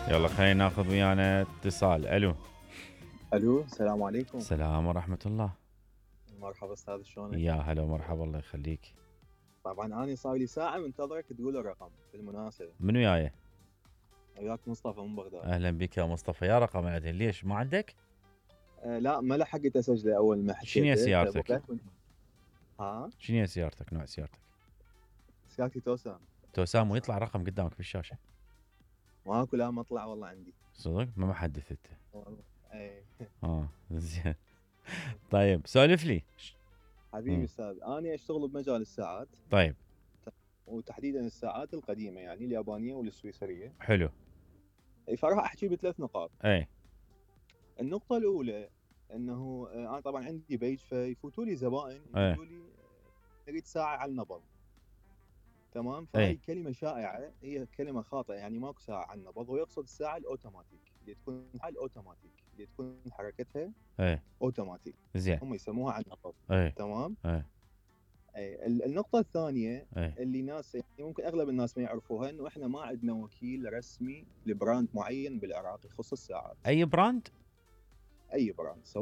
يلا خلينا ناخذ ويانا اتصال. الو. الو، السلام عليكم. السلام ورحمة الله. مرحبا استاذ، شلونك؟ يا هلا ومرحبا، الله يخليك. طبعا انا صار لي ساعه منتظرك تقول الرقم بالمناسبه. من وياي؟ وياك مصطفى من بغداد. اهلا بك يا مصطفى. يا رقم بعدين ليش ما عندك؟ لا، ما لحقت اسجله اول ما شنو هي حكيته. سيارتك؟ ها، شنو هي سيارتك؟ نوع سيارتك؟ سيارتي توسان. توسام، ويطلع رقم قدامك بالشاشة. ماكو، لا ما طلع والله عندي. صدق؟ ما محدث انت. والله اي. زين. طيب سولف لي. حبيبي استاذ، انا اشتغل بمجال الساعات. طيب. وتحديدا الساعات القديمه، يعني اليابانيه والسويسريه. حلو. فراح احكي بثلاث نقاط. اي. النقطه الاولى انه انا طبعا عندي بيج، فيفوتوا لي زبائن يقولوا لي نريد ساعه على النبض. تمام، فهاي كلمة شائعة، هي كلمة خاطئة، يعني ماكو ساعة على النبض. هو يقصد الساعة الأوتوماتيك اللي تكون الأوتوماتيك اللي تكون حركتها أوتوماتيك. زين. هم يسموها على النبض. تمام. النقطة الثانية اللي ناس يعني ممكن أغلب الناس ما يعرفوها، إنه إحنا ما عندنا وكيل رسمي لبراند معين بالعراق يخص الساعات. أي براند؟ أي براند، سواء